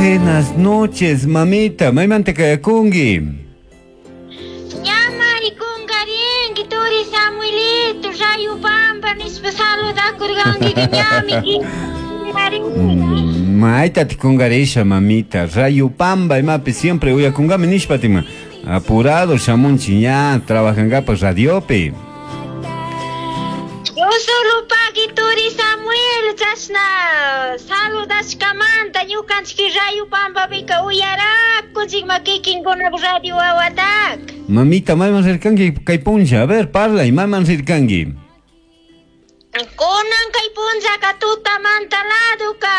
Buenas noches, mamita. Maymanta kayakunki. Ñamari kungarinki turi Samuelito, Rayo Pampa nishpa saludakurkanki ñami. Mayta tikungarisha, mamita. Rayo Pamba imapi siempre uyakungami nishpa tima. Apurado shamunchi ña trabajankapaj radiopi. Yo solo pagui turi Samuel chashna saludashkamanta ñukanchik Rayo Pampapika uyarakunchikma kikinkunapa radio wawataka. Mamita, mayman rirkanki kay punlla. A ver, parlay, mayman rirkanki. Kunan kay punllaka tutamanta laduka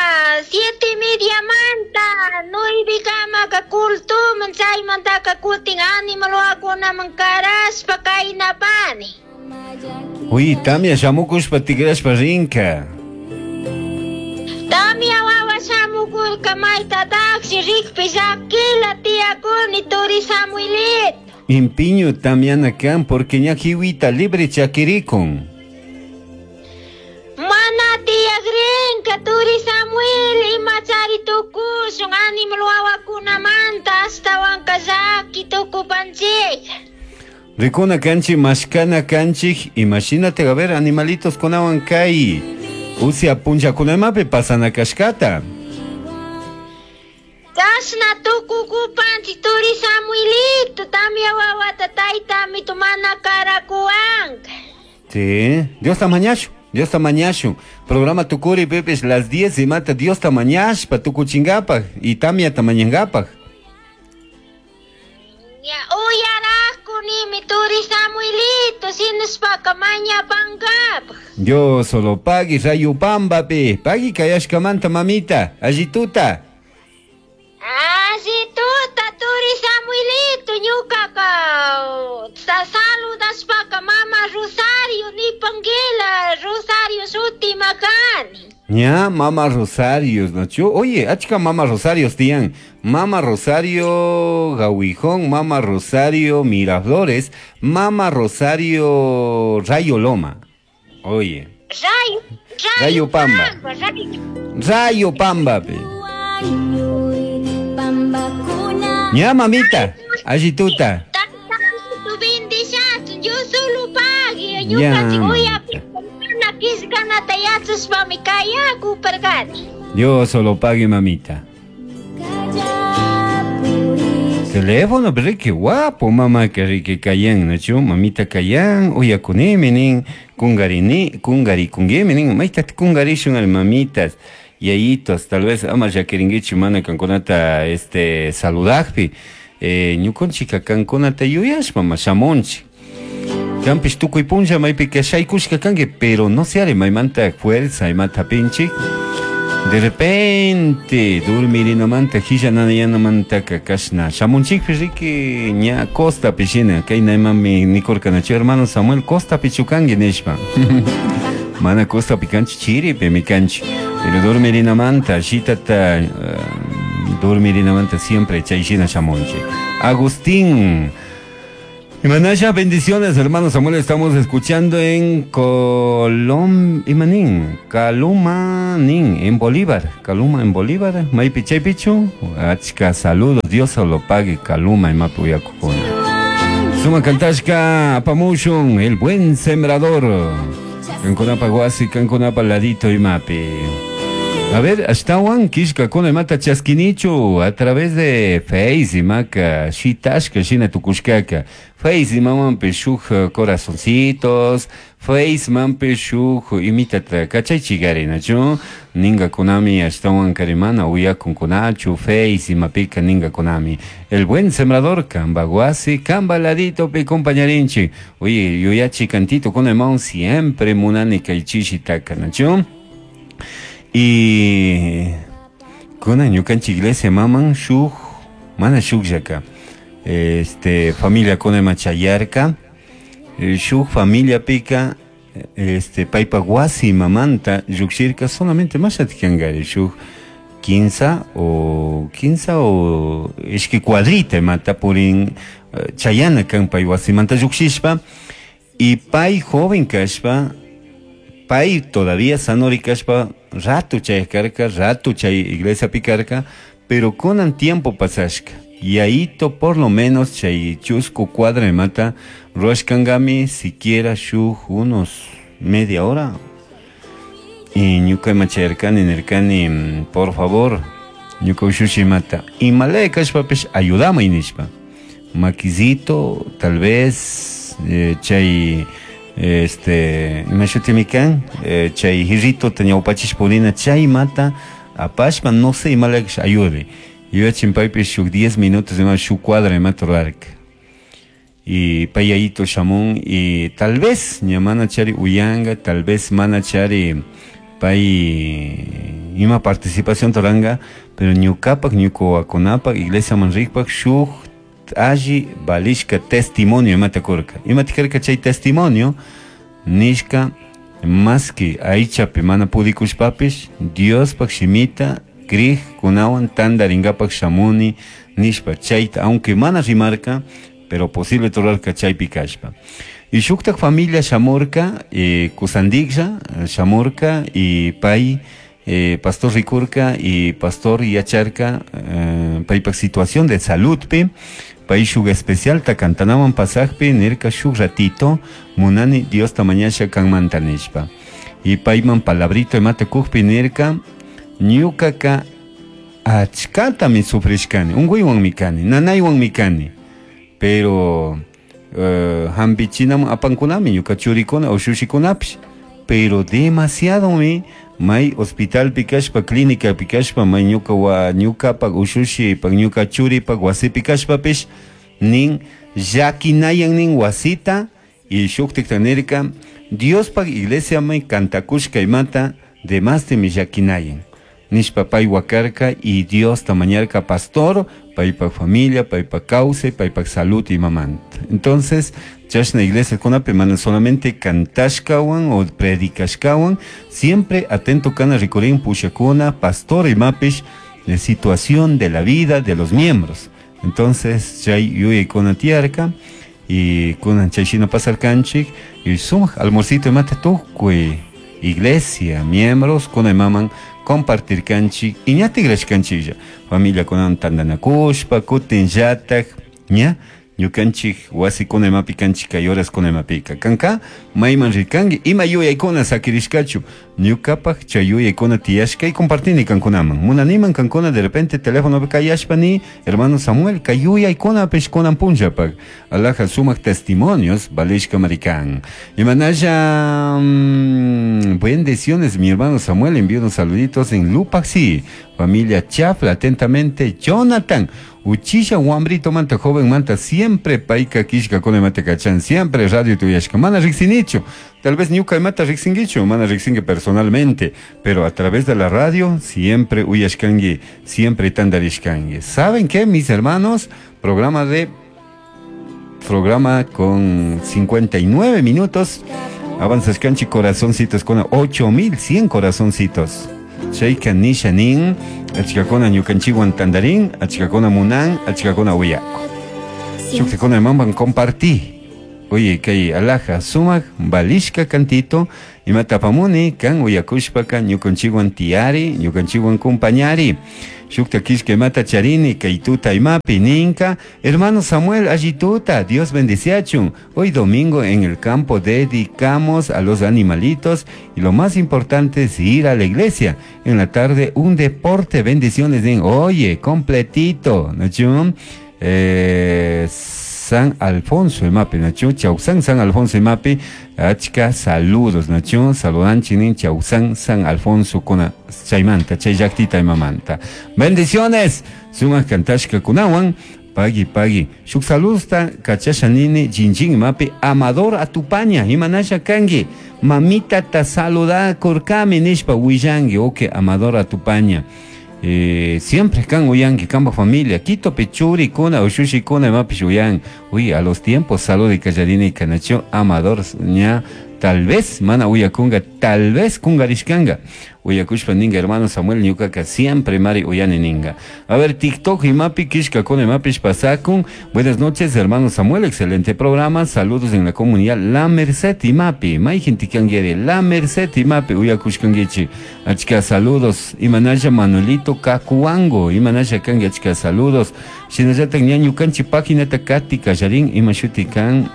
7:30manta 9kamaka cultuman chaymantaka kutin animal wawakunaman karashpa kaynapani. Uy, tamia shamukushpa tikrashpa rinka. Tamia wawa shamukurka maytatakshi rikpi llakila tiyakuni turi Samuelito. Impiño tamiana kan porque ña hiwita libre chakirikun. Mana tiyakrinka turi Samuel imachari tukushun animal wawakunamanta ashtawanka llaki tukupanchik. Rikuna kanchik, mashkana kanchik, imagínate, a ver, animalitos kunawan kay usya punllakunamapi pasana kashkata. Chashna tukukupanchik turi Samuelito, tamia wawata taytamito mana karakuwanka. Sí, Dios ta mañashu, Dios ta mañashu. Programa tukuri pepes las 10 y mata Dios ta mañashpa tukuchingapaj y tamia ta mañangapaj. Ya uyarakunimi turi Samuelito, sinashpaka mañapankapaj. Dios solo pagui Rayo Pambapi, pagui kayashkamanta mamita, allituta. Allituta turi Samuelito, ñukaka saludashpaka mama Rosario nipanguila, Rosario shuti makani. Ña, mama Rosario, ¿no? Oye, achka mama Rosario tiyan. Mama Rosario Gawijón, mama Rosario Miraflores, mama Rosario Rayo Loma. Oye. Rayo Rayo Pamba. Rayo Rayo Pamba, pe. Ña, mamita, allituta. Tu bendiciasun, yo solo pagui, Ya, ñukanchik mamita. uyapika killkanata yachashpami kayakuparkani. Yo solo pague, mamita. Teléfono, pero qué guapo, mamá, que rique kayan, ¿no? Chu? Mamita kayan, uyakunimi nin, kungarini, kungari kungemi nin, maita kungarishun al mamitas, yayitos, tal vez ama yakiringuichi mana kankunata saludajpi, ñukunchika kankunata yuyashpa ma shamunchi. Kampish tukuy punlla maypi kashaykushka kanki, pero no se are maymanta fuerza imata pinchik. De repente, dormirinamanta, hillananayanamanta kashna. Shamunchikpi riki ña Costa pishina, kay naymami nikurkanachu hermano Samuel Costa pichukanki nishpa. Mana Costa pikanchi chiripi mikanchi. Pero dormirinamanta, shitata, dormirinamanta siempre chayshina shamunchik. Agustín. Imanasha, bendiciones, hermano Samuel. Estamos escuchando en Colom, Imanín, Calumanín, en Bolívar. Caluma en Bolívar. Maypi chaypichu. Achka, saludos. Dios se lo pague. Caluma, Imapuyacujuna. Suma Cantashka, Apamushun, el buen sembrador. Canconapa Guasi, Canconapa Ladito Imapi. A ver, ashtawan kishka kuna imata chaskinichu a través de Face imaka shitashka shina tukushkaka. Face imamanpi shuk corazoncitos, Face manpi shuk imitata kachaychigarinachu, ninga kunami ashtawan karimana uyakunkunachu, Face imapika ninga kunami. El buen sembrador kamba guasi, kamba ladito pi compañarinchi. Oye, yuyachi cantito kuna imawan siempre munani kaychishitaka, nachu. Y kuna ñukanchik iglesia maman shuk, mana shuk yaka. Familia kuna machayarka, shuk familia pika, paypa wasi mamanta llukshirka solamente mashatikangari shuk quinza o quinza o ishki cuadrita imata purin, chayana kan pay wasimanta llukshishpa y pay joven kashpa, pay todavía sanori kashpa, rato chay karka, rato chay iglesia picarka, Pero kunan tiempo pasashka yayito por lo menos chay chusku cuadra imata ruashkankami siquiera shuk unos media hora. Y ñuka ima chayarkani nirkani, por favor, ñuka ushushi imata imalaya kashpapish ayudamay nishpa. Maquisito, tal vez chay ima shutimi kan, chay jirrito ñawpachish purina chay mata apashpa no sé imalaya kash ayude. Yuyachin paypish shuk 10 minutos ima shuk cuadra imata rurarka. Y payayito shamun y tal vez ña mana chari uyanga, tal vez mana chari pay ima participación toranga, pero ñukapak, ñukawakunapak, iglesia manrikpak shuk alli valishka testimonio imata kurka. Imata karka chay testimonio nishka más que aychapi mana pudikushpapish Diospak shimita krij kunawan tandaringapak shamuni nishpa chayta, aunque mana rimarka, pero posible torarka chaypi kashpa. Y shuktak familia shamurka, kusandiklla shamurka y pay pastor rikurka y pastor yacharka, paypak situación de saludpi, pay shuk especial ta kantanawan pasakpi nirka shuk ratito munani Dios tamañasha kanmanta nishpa. Y payman palabrito imata kukpi nirka ñukaka achkatami sufrishkani, unkuywanmi kani, nanaywanmi kani, pero hampichinam apankunami ñuka churikuna ushushikunapish, pero demasiadomi may hospitalpi kashpa, clínicapi kashpa, may ñuka wa ñukapak ushushipak ñuka churipak wasipi kashpapish nin llakinayan nin wasita. Y shuktikta nirka Diospak iglesia may kantakushka imata demastimi llakinayan nishpa pay wakarka y Dios tamañarka pastor, paypak familia, paypak kawsay, paypak salud imamanta. Entonces, chashna iglesia kunapi mana solamente kantashkawan o predicashkawan, siempre atento kana rikurin pushakuna, pastor imapish, la situación de la vida de los miembros. Entonces, chay yuyaykuna tiyarka y kunan chay shina pasarkanchik y sumak almuercito imata tukuy iglesia, miembros, kuna imaman compartir kanchik y ña tigrashkanchiklla familia kunan tandanakushpa kutin llatak ña ñukanchik wasikuna imapi kanchik kay horas kuna imapika kanka mayman rikanki ima yuyaykuna sakirishkachu ñukapak chay yuyaykuna tiyashka y compartini kankunaman munaniman kankuna de repente teléfonopi kayashpa ni hermano Samuel kay yuyaykunapish kunan punllapak alaja sumak testimonios valishka marikan. Imanalla bendiciones mi hermano Samuel, envío unos saluditos en Lupaxi, familia Chafla, atentamente Jonathan Uchilla wambrito manta joven manta siempre paika kishka con mate kachan siempre radio tuyashka mana riksinicho, tal vez ñuka mata riksingicho mana riksingi personalmente, pero a través de la radio siempre uyashkangi, siempre tandarishkangi. ¿Saben qué, mis hermanos? Programa con 59 minutos. Avanzas canchi corazoncitos con 8100 corazoncitos. Chayka nishanin, achikakuna ñukanchiwan tandarin, achikakuna munan, achikakuna uyaku. Shuktikuna mamban compartí. Oye, kay alaja sumak balishka cantito, imatapamuni kan uyakushpaka ñukanchiwan tiyari, ñukanchiwan compañari. Shukta kishka imata charini, kay tuta imapi ninka. Hermano Samuel, allituta, Dios bendiciachun. Hoy domingo en el campo dedicamos a los animalitos y lo más importante es ir a la iglesia. En la tarde un deporte, bendiciones. Oye, completito, ¿no? San Alfonso imapi, Nacho, Chausan San Alfonso imapi, achka saludos, Nacho, saludan chinin Chausan San Alfonso kuna chaymanta, chay llaktita imamanta. Bendiciones, sumak kantashka kunawan, pagui pagui. Shuk saludosta kachasha nini jinjin imapi, Amador Atupaña, imanasha kangi, mamita ta saluda kurkami nishpa willangi, ok, Amador Atupaña. Siempre kan uyangi kamba familia Quito pechuri kuna ushushi kuna imapish uyan. Uy, a los tiempos salud y calladini kanacho Amador ña tal vez mana uyakunga, tal vez kungarishkanga. Uyakushpa ninga hermano Samuel ñukaka siempre mari uyani ninga. A ver, TikTok imapi kishkakuna imapish pasakun. Buenas noches, hermano Samuel, excelente programa. Saludos en la comunidad La Merced imapi. Mayjinti kanguiri La Merced imapi uyakushkanguichi. Achka saludos. Imanalla Manuelito Cacuango. Imanalla kangi achka saludos. Shinallatak ña ñukanchik paginata kati kallarin ima shuti kan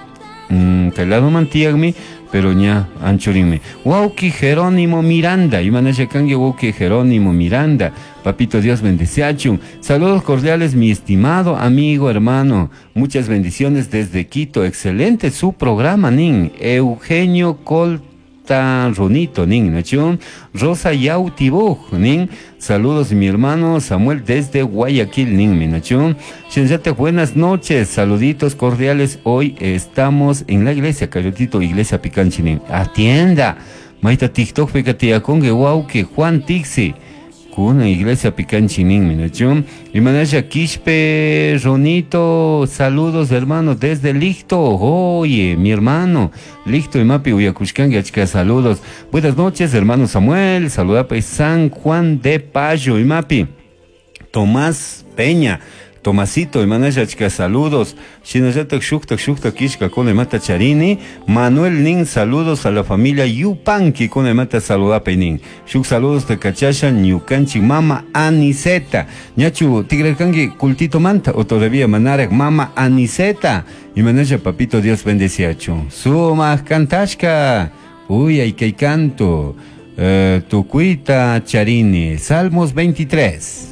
kay ladoman tiyakmi, pero ña anchurinmi. Wauki Jerónimo Miranda, imanalla kangi wauki Jerónimo Miranda. Papito Dios bendeciachun. Saludos cordiales, mi estimado amigo, hermano. Muchas bendiciones desde Quito. Excelente su programa, nin. Eugenio Colta Runito, nin, nachun. Rosa Yautibuj, nin. Saludos, mi hermano Samuel desde Guayaquil, nin, mi nachun. Shinallatak, buenas noches, saluditos cordiales. Hoy estamos en la iglesia, Cayotito, iglesia Picanchi, nin. Atienda. Maita TikTok, pekatiakonge, wauki, Juan Tixi. Kuna iglesia Picanchi, nin, mi nachun. Imanalla Quispe, Ronito, saludos hermano desde Licto. Oye, mi hermano, Licto imapi uyakushkangi, achka saludos. Buenas noches, hermano Samuel, saluda pues San Juan de Payo, imapi. Tomás Peña, Tomasito, imanalla achka saludos. Shinallatak shuktak shuktak kishkakuna imata charini. Manuel nin, saludos a la familia Yupanqui, kuna imata saludapay nin. Shuk saludos te kachasha ñukanchik mama Aniseta. Ñachu tigrarkanki cultito manta o todavía manarak mama Aniseta. Imanalla papito Dios bendeciachu. Sumaq kantashka. Uy, ay kay canto. Tukuita charini. Salmos 23.